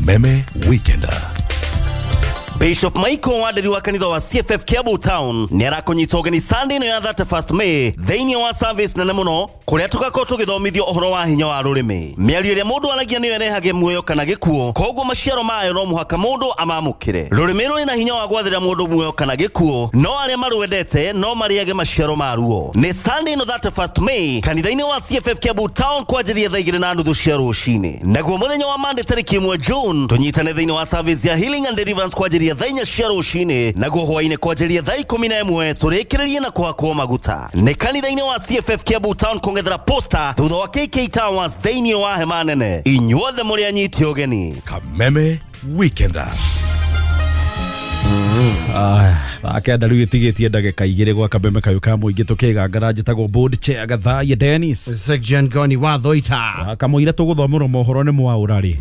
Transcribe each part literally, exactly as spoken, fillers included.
Kameme Weekender. Bishop Michael Waderi wa kanitha wa C F F Kiambu Town nĩ arakũnyita ũgeni Sunday ĩno ya thirty-first May thĩinĩ wa service nene mũno kũrĩa tũgakorwo tũgĩthomithio ũhoro wa hinya wa rũrĩmĩ. Mĩario ĩrĩa mũndũ aragia nĩyo ĩrehage muoyo kana gĩkuũ, koguo maciaro mayo no mũhaka mũndũ amamũkĩre. Rũrĩmĩ rũrĩ na hinya wa gwathĩra mũndũ muoyo kana gĩkuũ, no arĩa marwendete no marĩage maciaro maruo. Nĩ Sunday ĩno thirty-first May kanitha-inĩ wa C F F Kiambu Town kwanjĩrĩria thaa igĩrĩ na nuthu cia rũcinĩ. Naguo mũthenya wa Monday tarĩki ĩmwe June tũnyitane thĩinĩ wa service ya Healing and Deliverance kwanjĩrĩria thaa inya cia rũcinĩ, naguo hwaĩ-inĩ kwanjĩrĩria thaa ikũmi na ĩmwe tũrĩkĩrĩrie na kũhakwo maguta. Nĩ kanitha-inĩ wa C F F Kiambu Town kũng'ethera posta thutha wa K K Towers thĩinĩ wa hema nene. Inyuothe mũrĩ anyiti ũgeni. Kameme Weekender. Akenda rĩu ĩtigĩtie ndagĩka igĩrĩ gwa Kameme kayũ ka mũingĩ tũkĩgangara njĩtagwo board chair Gathaiya Dennis Section Goni wa Thoita kamũira tũgũthomerwo mohoro nĩ mwaũra rĩ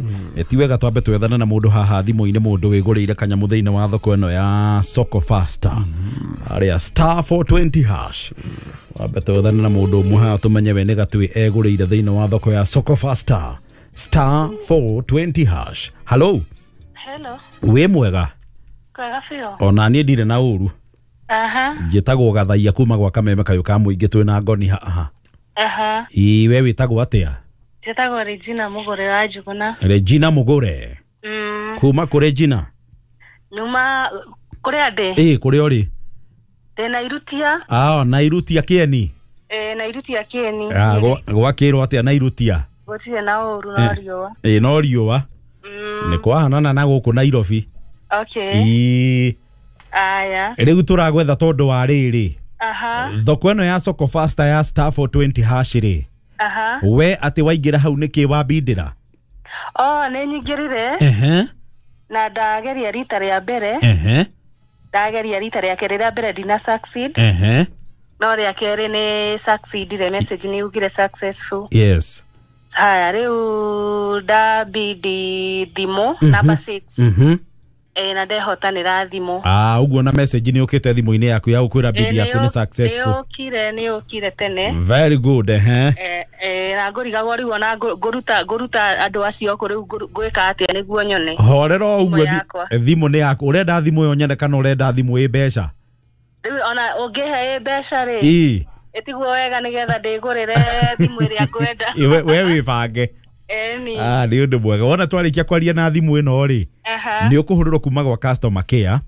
ti wega twambe twethane na mũndũ haha thimũ-inĩ mũndũ wĩgũrĩire kanyamũ thĩinĩ wa thoko ĩno ya Soko Faster arĩa star four twenty hash wambe twethane na mũndũ ũmwe haha tũmenye we nĩ gatui egũrĩire thĩinĩ wa thoko ya Soko Faster star four twenty hash. Hello. Hello. Wĩ mwega? Kwega biũ. Ona niĩ ndirĩ na ũru. Aha. Njĩtagwo Gathaiya kuma gwa Kameme kayũ ka mũingĩ twĩ na Ngoni haha. Aha. Ĩ we wĩtagwo atĩa? Njĩtagwo Regina Mũgũre wa Njuguna. Regina Mũgũre. Mm. Kuma kũ Regina? Nyuma kũrĩa ndĩ. Ĩ kũrĩa ũrĩ? Ndĩ Nairutia. Ah, Nairutia Kĩeni. Ĩ Nairutia Kĩeni. Ah, gwakĩrwo atĩa Nairutia? Gũtirĩ na ũru no riũa. Ĩ no riũa. Mm. Nĩ kwahanana na gũkũ Nairobi. Okay. Ĩ. Aya. Rĩu tũragwetha tondũ wa rĩrĩ. Aha. Thoko ĩno ya Soko Faster ya star four twenty hash rĩ. Aha. We atĩ waingĩra hau nĩkĩ wambindĩra? Oh, nĩ nyingĩrire. Ehe. Na ndageria rita rĩa mbere. Ehe. Ndageria rita rĩa kerĩ, rĩa mbere ndina succeed. Ehe. No rĩa kerĩ nĩ succeedire, message nĩ yugire successful. Yes. Haya, rĩu ndabindi thimũ number six. Mhm. Eh, na ndehotanĩra thimũ. Ah, ũguo na message nĩ ũkĩte thimũ-inĩ yaku ya gũkwĩra bid yaku nĩ successful. Nĩ ũkire, nĩ ũkire tene. Very good, eh. Eh, eh, na ngũrigagwo rĩu ona ngũruta ngũruta andũ acio kũ rĩu ngwĩka atĩa nĩguo nyone. Horera ũguo thimũ nĩ yaku. Ũrenda thimũ ĩyo nyene kana ũrenda thimũ ĩ mbeca? Rĩu ona ũngĩhe ĩ mbeca rĩ. Ĩ. Ĩtiguo wega nĩgetha ndĩgũrĩre thimũ ĩrĩa ngwenda. We we wĩbange. Eni. Ah, nĩ ũndũ mwega. Wona twarĩkia kwaria na thimũ ĩno rĩ. Nĩ ũkũhũrĩrwo kuma gwa customer care.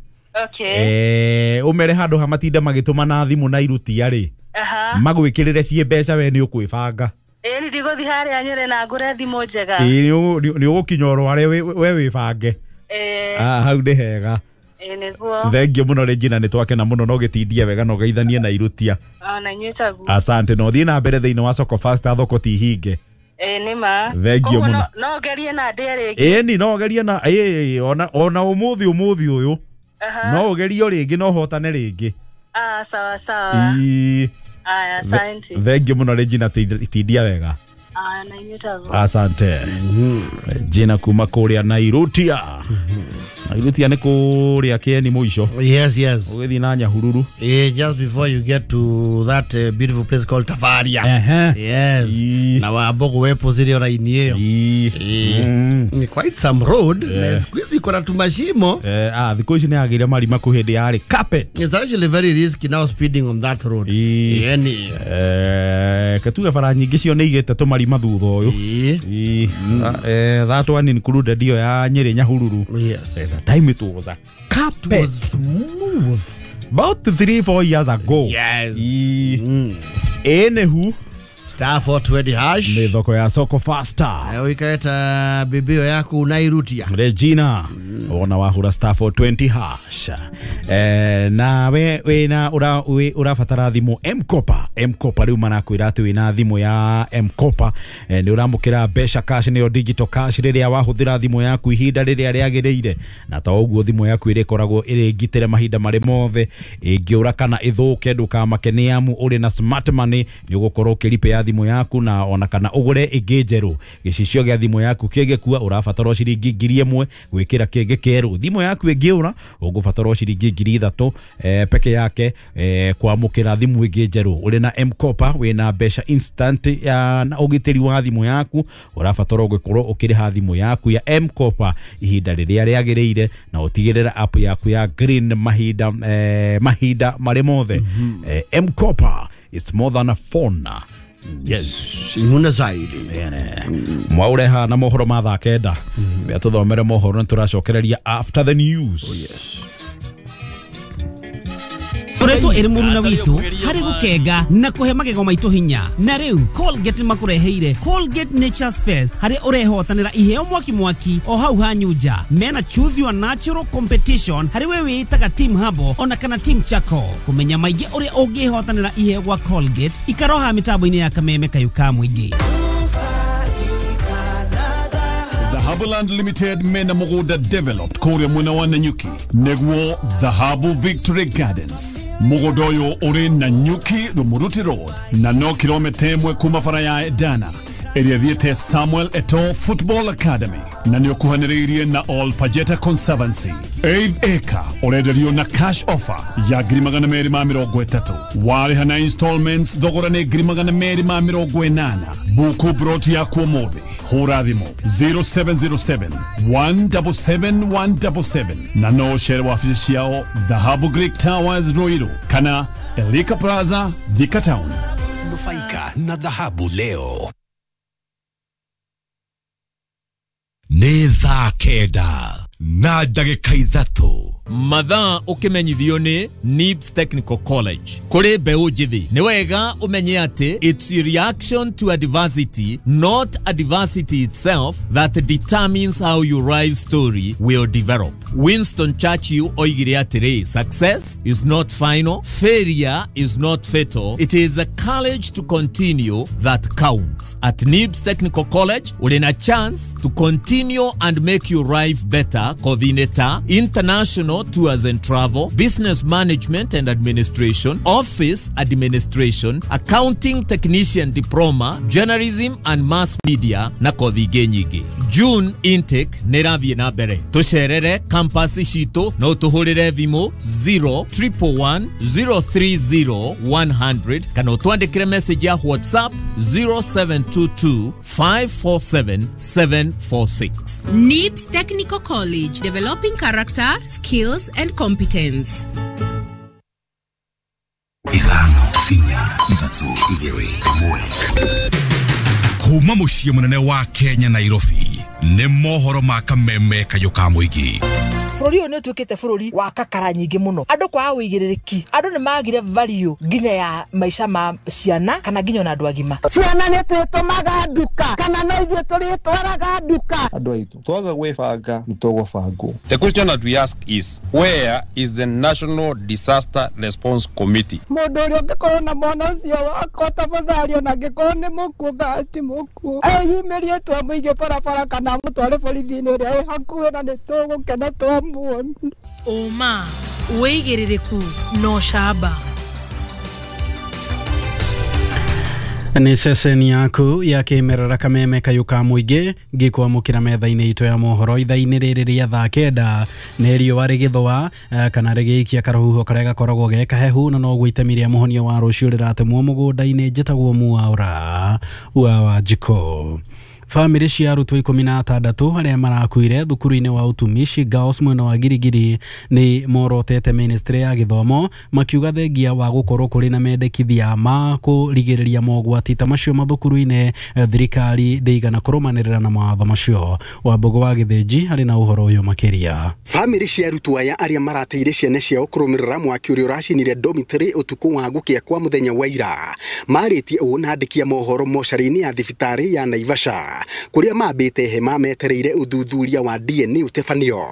Okay. Eh, ũmere handũ ha matinda magĩtũma na thimũ na irutia rĩ. Aha. Magwĩkĩrĩre ciĩ mbeca we nĩ ũkwĩbanga. Ĩni ndigũthiĩ harĩa Nyĩrĩ na ngũre thimũ njega. Ĩ nĩ ũgũkinya ũrware we wĩbange. Eh. Ah, hau nĩ hega. Ĩ nĩguo. Thank you mũno Regina, nĩ twakena mũno no gĩtindie wega no geithanie na irutia. Ona inyuĩ taguo. Asante, no thiĩ na mbere thĩinĩ wa Soko Faster thoko ti hinge. Eh, nĩ ma. Thank you mũno. No ngerie na ndĩe rĩngĩ. Ĩni no ngerie na ĩ ona ona ũmũthĩ ũmũthĩ ũyũ. No ũgerie rĩngĩ no hotane rĩngĩ. Ah, sawa sawa. Ĩ. Aya, asante. Thank you mũno Regina, tindia wega. Ah, na inyuĩ taguo. Asante. Regina kuma kũrĩa Nairutia. Nairutia nĩ kũrĩa Kĩeni mũico. Yes, yes. Ũgĩthiĩ na Nyahururu. Yeah, just before you get to that uh, beautiful place called Tafaria. Uh-huh. Yes. E. Na wambogo wepo zile raini hiyo. E. Mm. Quite some road. Yeah. Siku hizi kuna tumashimo. Eh, ah, thikũ ici nĩ yagĩire marima kũ hĩndĩ yarĩ carpet. It's actually very risky now speeding on that road. E. Yani. Eh, katuga bara nyingĩ cio nĩ igĩte tũmarima thutha ũyũ. E. E. Eh, that one included iyo ya Nyĩrĩ Nyahururu. Yes. There's a time it was a carpet. It was smooth. About three, four years ago. Yes. E. Mm. Anywho, star four twenty hash. Nĩ thoko ya Soko Faster. Wikaeta bibio yaku unairutia. Regina. Mm. Ona wahura star four twenty hash. Eh, na we we na ura we urabatara thimũ M-Kopa. M-Kopa rĩu marakwĩra atĩ wĩna thimũ ya M-Kopa. Eh, nĩ ũramũkĩra mbeca cash nĩyo digital cash rĩrĩa wahũthĩra thimũ yaku ihinda rĩrĩa rĩagĩrĩire. Na ta ũguo thimũ yaku ĩrĩkoragwo ĩrĩ ngitĩre mahinda marĩ mothe. Ĩngĩũra kana ĩthũke ndũkamake nĩ amu ũrĩ na smart money nĩ ũgũkorwo ũkĩripĩa ya thimũ yaku na ona kana ũgũre ĩngĩ njerũ. Gĩcicio gĩa thimũ yaku kĩngĩkua ũrabatara ciringi ngiri ĩmwe gwĩkĩra kĩngĩ kĩerũ. Thimũ yaku ĩngĩũra ũgũbatara ciringi ngiri ithatũ eh, peke yake eh, kwamũkĩra thimũ ĩngĩ njerũ. Ũrĩ na M-Kopa wĩna mbeca instant ya na ũgitĩri wa thimũ yaku, ũrabatara ũgĩkorwo ũkĩrĩha thimũ yaku ya M-Kopa ihinda rĩrĩa rĩagĩrĩire na ũtigĩrĩra app yaku ya green mahinda eh, mahinda marĩ mothe. Mm -hmm. eh, M-Kopa is more than a phone. Yes, nguna zaidi mwaure na mohoro ma thaa kenda bia tuthomere mohoro na turacokereria after the news. Oh, yes. Koretwo ĩrĩ mũruna witũ harĩ gũkenga na kũhe magego maitũ hinya. Na rĩu Colgate makũreheire Colgate Nature's Fest harĩ ũrehotanĩra iheo mwaki mwaki o hau hanyunja. Mena choose your natural competition harĩ we wĩtaga team Habo ona kana team Chako. Kũmenya maingĩ ũrĩa ũngĩhotanĩra iheo gwa Colgate ikaroha mĩtambo-inĩ ya kameme kayu ka mũingĩ. Dhahabuland Limited mena mugunda developed kuria mwena wa Nanyuki neguo Dhahabu Victory Gardens. Mugunda uyu uri Nanyuki Rumuruti Road na no kilomita imwe kuma bara ya Edana ĩrĩa thiĩte Samuel Eto'o Football Academy na nĩ ũkuhanĩrĩirie na All Pajeta Conservancy. Eighth acre ũrenderio na cash offer ya ngiri magana merĩ ma mĩrongo ĩtatũ. Warĩha na installments thogora nĩ ngiri magana merĩ ma mĩrongo ĩnana. Buku broti yaku ũmũthĩ. Hũra thimũ zero seven zero seven one seven seven one seven seven na no ũcere wabici ciao Dhahabu Greek Towers Ruiru kana Elika Plaza Thika Town. Nufaika na dhahabu leo. Nĩ thaa kenda na ndagĩka ithatũ. Mathaa ũkĩmenyithio nĩ Nibs Technical College. Kũrĩ mbeũ njĩthĩ nĩ wega ũmenye atĩ it's a reaction to adversity, not adversity itself, that determines how your life story will develop. Winston Churchill oigire atĩrĩ, success is not final, failure is not fatal, it is the courage to continue that counts. At Nibs Technical College ũrĩ na chance to continue and make your life better. Coordinator, international tours and travel, business management and administration, office administration, accounting technician diploma, journalism and mass media na kothi ingĩ nyingĩ. June intake nĩ ĩrathiĩ na mbere. Tũcerere campus citũ no tũhũrĩre thimũ zero triple one zero three zero one hundred kana ũtwandĩkĩre message ya WhatsApp zero seven two two five four seven seven four six. Nibs Technical College, developing character, skills and competence. Ithano, inya, ithatũ, igĩrĩ, ĩmwe. Kuma mũciĩ mũnene wa Kenya Nairobi nĩ mohoro ma kameme kayũ ka mũingĩ. Bũrũri ũyũ nĩ ũtuĩkĩte bũrũri wa kakara nyingĩ mũno. Andũ kwaga ũigĩrĩrĩki, andũ nĩ magire value nginya ya maica ma ciana kana nginya ona andũ agima. Ciana nĩ twĩtũmaga nduka kana no ithuĩ tũrĩtwaraga nduka. Andũ aitũ twaga gwĩbanga nĩ tũgũbangwo. The question that we ask is, where is the National Disaster Response Committee? Mũndũ ũrĩa ũngĩkorwo na mwana ũcio wakwa tafadhali ona angĩkorwo nĩ mũkuũ kana ti mũkuũ eyumĩrie twamũige barabara kana amũtware borithi-inĩ ĩrĩa ĩ hakuhĩ na nĩ tũgũkena twamuona. Ũma, wĩigĩrĩrĩku na ũcamba. Nĩ ceceni yaku ya kĩmerera kameme kayũ ka mũingĩ ngĩkwamũkĩra metha-inĩ itũ ya mohoro ithaa-inĩ rĩrĩ rĩa thaa kenda. Nĩ riũa rĩgĩthũa kana rĩgĩikia karũhuho karĩa gakoragwo ge kahehu na noguo itemi rĩa mũhonia wa rũciũ rĩratemwo mũgũnda-inĩ. Njĩtagwo Mwaura wa Wanjikũ. Bamĩrĩ cia arutwo ikũmi na atandatũ arĩa marakuire thukuru-inĩ wa utumishi Girls mwena wa Girigiri nĩ morotete ministry ya gĩthomo makiuga thengia wa gũkorwo kũrĩ na mendekithia ma kũrigĩrĩria mogwati ta macio mathukuru-inĩ, thirikari ndĩigana kũrũmanĩrĩra na mawatho macio. Wambũgũ wa Gĩthĩnji arĩ na ũhoro ũyũ makĩria. Bamĩrĩ cia arutwo aya arĩa marateire ciana ciao kũrũmĩrĩra mwaki ũrĩa ũracinire dormitory ũtukũ wa gũkĩa kwa mũthenya wa ira marĩtie ũũ na andĩki a mohoro mocarĩ-inĩ ya thibitarĩ ya Naivasha kuria mambĩte hema metereire ũthuthuria wa D N A ũtebanio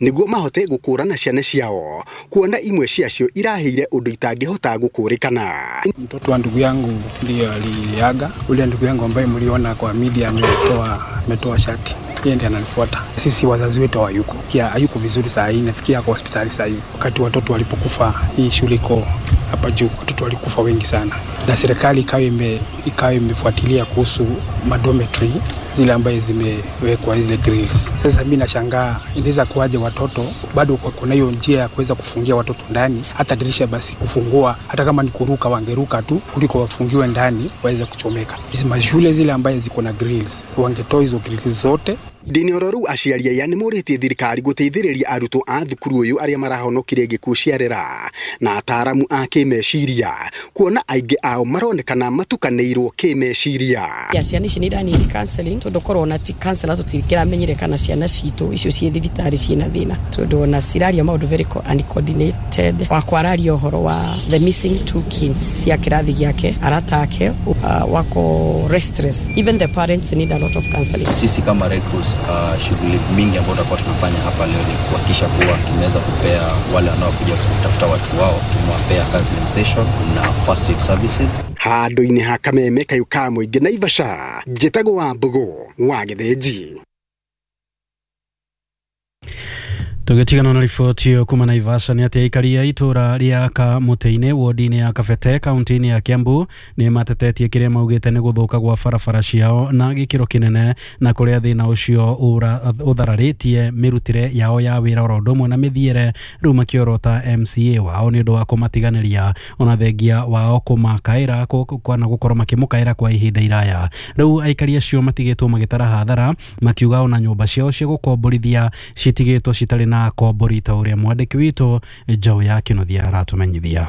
nĩguo mahote gũkũrana ciana ciao kuona imwe ciacio irahĩire ũndũ itangĩhota gũkũrĩkana. Mtoto wa ndugu yangu ndiye aliaga, ule ndugu yangu ambaye mliona kwa media ametoa ametoa shati, yeye ndiye ananifuata. Sisi wazazi wetu hawayuko, kia hayuko vizuri saa hii, nafikia kwa hospitali saa hii. Wakati watoto walipokufa, hii shule iko hapa juu, watoto walikufa wengi sana, na serikali ikawa ime ikawa imefuatilia kuhusu madometry zile ambaye zimewekwa zile grills. Sasa mimi nashangaa inaweza kuwaje watoto bado kuna hiyo njia ya kuweza kufungia watoto ndani, hata dirisha basi kufungua, hata kama ni kuruka wangeruka tu kuliko wafungiwe ndani waweze kuchomeka. Hizi mashule zile ambaye ziko na grills wangetoa hizo grills zote. Ndini-Ororu aciari aya nĩmorĩtie thirikari gũteithĩrĩria arutwo a thukuru ũyũ arĩa marahonokire gĩkuũ ciarera na ataaramu a kĩmeciria kuona aingĩ ao maronekana matukanĩirwo kĩmeciria. Ya ciana ici nĩ iraniri counseling tondũ korwo na ti counselor tũtingĩramenyire kana ciana citũ icio ciĩ thibitarĩ ciĩna thĩna tondũ ona ciraria maũndũ very uncoordinated. Wakwa araria ũhoro wa the missing two kids cia kĩrathi gĩake arata ake uh, wako restless. Even the parents need a lot of counseling. Sisi kama Red Cross Uh, shughuli mingi ambayo tutakuwa tunafanya hapa leo ni kuhakikisha kuwa tumeweza kupea wale wanaokuja kutafuta watu wao, tumewapea counseling session na first aid services. Handũ-inĩ ha Kameme kayũ ka mũingĩ Naivasha, njĩtagwo wa Mbũgũ wa Gĩthĩnji. Tũgĩtigana na riboti ĩyo kuma Naivasha nĩ atĩ aikari a itũra rĩa Kamũtĩ-inĩ wodi-inĩ ya Kabete kaunti-inĩ ya Kiambu nĩ matetetie kĩrĩa maugĩte nĩ gũthũka gwa barabara ciao na gĩkĩro kĩnene na kũrĩa thĩna ũcio ũthararĩtie mĩrutĩre yao ya wĩra oro ũndũ ũmwe na mĩthiĩre rĩu makĩorota M C A wao nĩ ũndũ wa kũmatiganĩria ona thengia wao kũmakaĩra kana gũkorwo makĩmũkaĩra kwa ihinda iraya. Rĩu aikari acio matigĩtwo magĩtara hathara makiuga ona nyũmba ciao cia gũkomborithia citigĩtwo citarĩ na kombori ta ũrĩa mwandĩki witũ Njaũ ya Kĩnuthia aratumenyithia.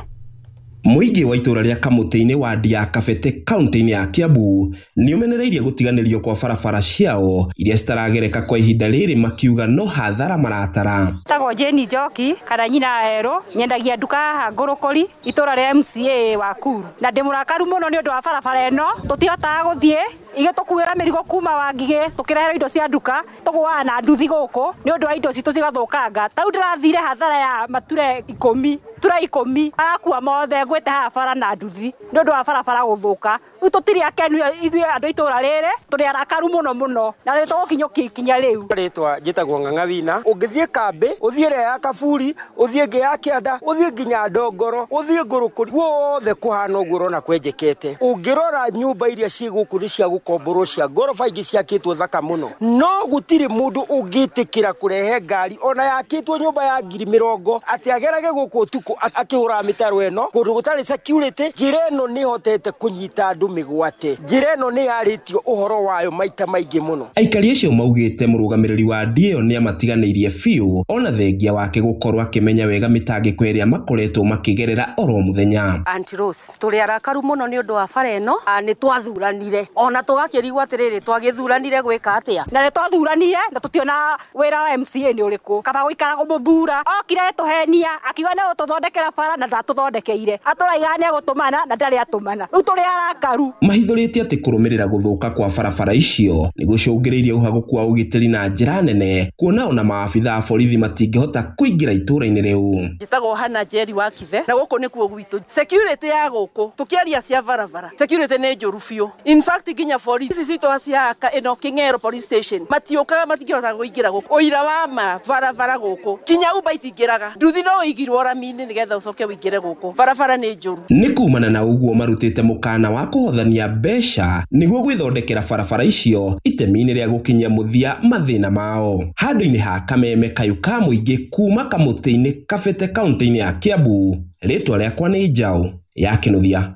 Mũingĩ wa itũra rĩa Kamũtĩ-inĩ wadi ya Kabete kaunti-inĩ ya Kiambu nĩ ũmenereirie gũtiganĩrio kwa barabara ciao iria citaragereka kwa ihinda rĩrĩ makiuga no hathara maratara. Tagwo Jane Njoki kana nyina Erũ, nyendagia nduka haha Ngũrũkũri itũra rĩa M C A wa Kuru, na ndĩ mũrakaru mũno nĩ ũndũ wa barabara ĩno tũtihotaga gũthiĩ igĩtũkuĩra mĩrigo kuma Wangigĩ tũkĩrehera indo cia nduka tũgũaga na nduthi gũkũ nĩ ũndũ wa indo citũ cigathũkanga. Tau ndĩrathire hathara ya mature ikũmi ture ikũmi agakua mothe ngwĩte haha bara na nduthi nĩ ũndũ wa barabara gũthũka. Rĩu tũtirĩ akenu ithuĩ andũ itũra rĩrĩ, tũrĩ arakaru mũno mũno na nĩ tũgũkinyũkia ikinya rĩu. Rĩtwa njĩtagwo Ng'ang'a Wina. Ũngĩthiĩ kambĩ, ũthiĩ ĩrĩa ya Kaburi, ũthiĩ ĩngĩ ya Kĩanda, ũthiĩ nginya Ndongoro, ũthiĩ Ngũrũkũri, guothe kũhana ũguo ũrona kwenjekete. Ũngĩrora nyũmba iria ciĩ gũkũ nĩ cia gũkomborwo cia ngoroba, ingĩ ciakĩtwo thaka mũno, no gũtirĩ mũndũ ũngĩtĩkĩra kũrehe ngari ona yakĩtwo nyũmba ya ngiri mĩrongo atĩ agerage gũkũ ũtukũ akĩhũraga mĩtaro ĩno kũndũ gũtarĩ security. Njĩra ĩno nĩ ĩhotete kũnyita andũ mĩgwate, njĩra ĩno nĩ yarĩtio ũhoro wayo maita maingĩ mũno. Aikari acio maugĩte mũrũgamĩrĩri wa D ĩyo nĩ amatiganĩirie biũ ona thengia wake gũkorwo akĩmenya wega mĩtangĩko ĩrĩa makoretwo makĩgerera oro mũthenya. Auntie Rose, tũrĩ arakaru mũno nĩ ũndũ wa bara ĩno, nĩ twathuranire ona tũgakĩrigwo atĩrĩrĩ twagĩthuranire gwĩka atĩa, na nĩ twathuranire na tũtiona wĩra wa M C A nĩ ũrĩkũ. Kaba gũikara kũmũthura okire tũhenia akiuga nĩ gũtũthondekera bara na ndatũthondekeire, atũraiga nĩ egũtũmana na ndarĩ atũmana. Rĩu tũrĩ arakaru. Mahithũrĩtie atĩ kũrũmĩrĩra gũthũka kwa barabara icio nĩ gũcũngĩrĩirie ũhagũku wa ũgitĩri na njĩra nene kuona ona maabitha a borithi matingĩhota kũingĩra itũra-inĩ rĩu. Njĩtagwo Hana Njeri wa Kibe na gũkũ nĩkuo gwitũ. Security ya gũkũ tũkĩaria cia barabara, security nĩ njũru biũ. In fact nginya borithi ici citũ cihaka ĩno Kĩng'ero police station matiũkaga, matingĩhota kũingĩra gũkũ. Ũira wa ma barabara gũkũ kinya Uber itingĩraga, nduthi no ũigirwo rami-inĩ nĩgetha ũcoke ũingĩre gũkũ. Barabara nĩ njũru. Nĩ kumana na ũguo marutĩte mũkana wa kũhothania mbeca nĩguo gwĩthondekera barabara icio itemi-inĩ rĩa gũkinyia mũthia mathĩna mao. Handũ-inĩ ha Kameme kayũ ka mũingĩ kuma Kamũtĩ-inĩ Kabete kaunti-inĩ ya Kiambu, rĩtwa rĩakwa nĩ Njaũ ya Kĩnuthia.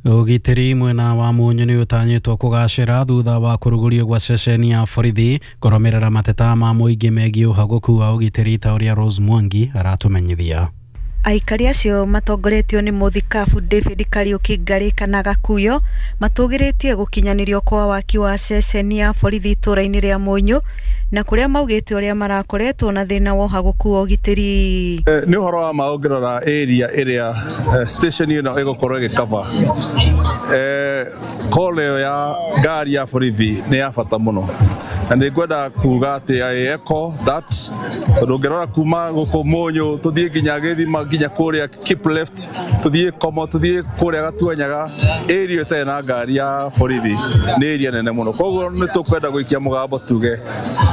Ũgitĩri mwena wa Mũnyũ nĩ ũtanyĩtwo kũgacĩra thutha wa kũrugũrio gwa ceceni ya borithi kũrũmĩrĩra mateta ma mũingĩ megiĩ ũhagũku wa ũgitĩri ta ũrĩa Rose Mwangi aratumenyithia. Aikari acio matongoretio nĩ mũthikabu David Kariuki Ngarĩ kana Gakuyo matũgĩrĩtie gũkinyanĩrio kwa waki wa ceceni ya borithi itũra-inĩ rĩa Mũnyũ na kũrĩa maugĩte ũrĩa marakoretwo na thĩna wa ũhagũku wa ũgitĩri. Nĩ ũhoro wa ma ũngĩrora area ĩrĩa station ĩno ĩgũkorwo ĩgĩcover call ĩyo ya ngari ya borithi nĩ ya bata mũno, na nĩ ngwenda kuga atĩ I echo that tondũ ũngĩrora kuma gũkũ Mũnyũ tũthiĩ nginya Gĩthima nginya kũrĩa keep left tũthiĩ Komo tũthiĩ kũrĩa Gatuanyaga, area ĩtarĩ na ngari ya borithi nĩ area nene mũno. Koguo nĩ tũkwenda gũikia mũgambo tuge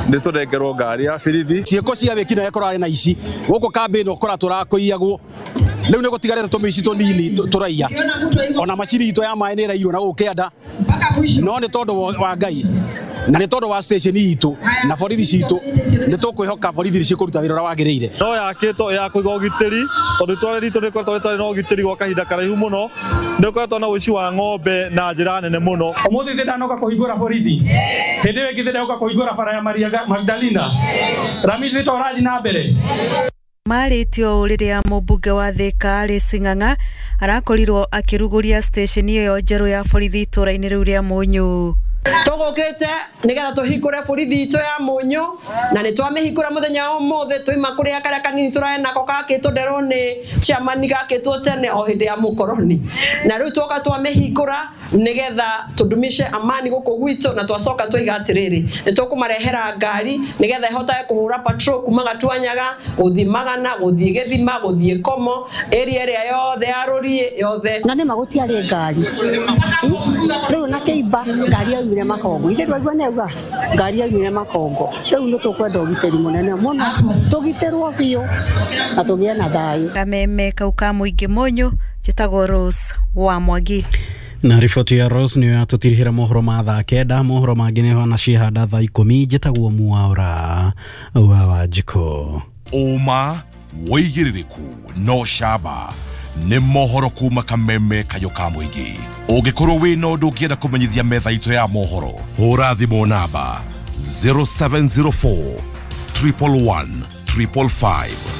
nĩ tũnengerwo ngari ya borithi. Ciĩko cia wĩkinaĩ kũrarĩ na ici gũkũ kambĩ ĩno kũratũra kũiyagwo Rĩu nĩ gũtigarĩte tũmĩici tũnini tũraiya ona macini itũ ya maĩ nĩ ĩraiywo na gũkũ kĩanda, no nĩ tondũ wa Ngai na nĩ tondũ wa station itũ na borithi citũ nĩ tũkwĩhoka borithi cikũruta wĩra ũrĩa wagĩrĩire. No yakĩtwo ya kũiga ũgitĩri tondũ itũra ritũ nĩ rĩkoretwo rĩtarĩ na ũgitĩri gwa kahinda karaihu mũno, nĩ ũkoretwo na ũici wa ng'ombe na njĩra nene mũno. Ũmũthĩ thĩ ndanoka kũhingũra borithi, hĩndĩ ĩyo ĩngĩ thĩ ndanoka kũhingũra bara ya Maria Magdalena, rami thĩ tũrathiĩ na mbere. Marĩtio rĩrĩa mũmbunge wa Thika Alice Ng'ang'a arakorirwo akĩrugũria station ĩyo njerũ ya borithi itũra-inĩ rĩu rĩa Mũnyũ. Tũgũkĩte nĩgetha tũhingũre borithi itũ ya Mũnyũ na nĩ twamĩhingũra mũthenya wa ũmũthĩ. Twaima kũrĩa karĩa kanini tũrarĩ nako gakĩtwo nderwo nĩ chairman gakĩtwo tene o hĩndĩ ya mũkoroni, na rĩu twoka twamĩhingũra nĩgetha tũdumishe amani gũkũ gwitũ, na twacoka twaiga atĩrĩrĩ nĩ tũkũmarehera ngari nĩgetha ĩhotage kũhũra patrol kuma Gatuanyaga gũthiĩ Magana gũthiĩ Gĩthima gũthiĩ Komo area ĩrĩa yothe ya Rũriĩ yothe. Na nĩma gũtiarĩ ngari rĩu na kĩimba ngari yaumire Makongo, ithe ndwaigua nĩauga ngari yaumire Makongo. Rĩu nĩ tũkwenda ũgitĩri mũnene mũno, tũgitĩrwo biũ na tũgĩe na thayũ. Kameme kau ka mũingĩ Mũnyũ, njĩtagwo Rose wa Mwangi. Na riboti ya Rose nĩyo yatũtirihĩra mohoro ma thaa kenda. Mohoro mangĩ nĩho na cihanda thaa ikũmi. Njĩtagwo Mwaura wa Wanjikũ. Ũma wĩigĩrĩrĩku no camba nĩ mohoro kuma kameme kayũ ka mũingĩ. Ũngĩkorwo wĩna ũndũ ũngĩenda kũmenyithia metha itũ ya mohoro, hũra thimũ namba zero seven zero four triple one triple five.